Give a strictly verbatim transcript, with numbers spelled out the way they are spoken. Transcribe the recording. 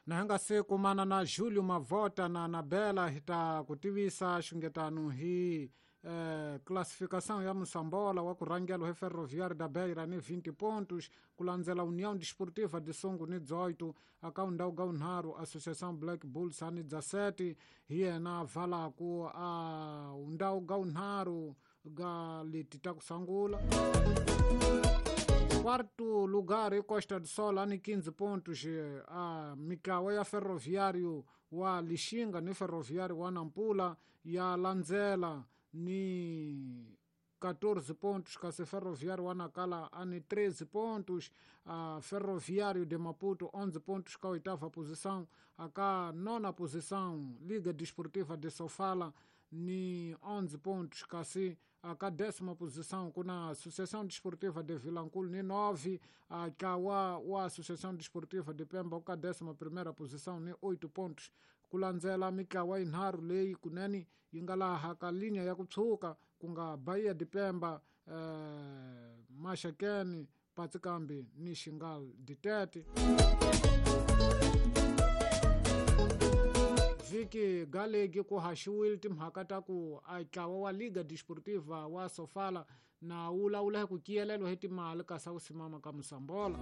Na hi nga se kumana na Julio Mavota na Anabela hi ta ku tivisa xungetano hi eh, classificação ya Moçambola wa ku rhangela hi Ferroviário da Beira ni vinte pontos, ku landzela União Desportiva de Songo ni dezoito, aka ndhawu ga vunharhu Associação Black Bulls ni dezessete, hi yena valaku a ndhawu ga vunharhu ga leti ta ku sungula. Quarto lugar i Costa do Sol ani quinze pontos, a mintlawa ya Ferroviário wa Lixinga ni Ferroviário wa Nampula ya landzela ni catorze pontos, kasi Ferroviário wa Nacala ani treze pontos, a Ferroviário de Maputo onze pontos ka oitava posição, a ka nona posição Liga Desportiva de Sofala ni onze pontos, kasi a ka décima posição kuna Associação Desportiva de Vilanculo ni nove, a ka wa, wa Associação Desportiva de Pemba ka décima primeira posição ni oito pontos. Ku landzela mintlawa yinharhu leyi kunene yi nga laha ka linya ya ku tshuka ku nga Bahia de Pemba, eh, Maxakeni, Patsikambi ni Xingal Ditete. Vhiki galegi ku haxiwile timhaka ta ku a ntlawa wa Liga Desportiva wa Sofala na wu lawula hi ku kiyelelwa hi timali kasi a wu simama ka Moçambola.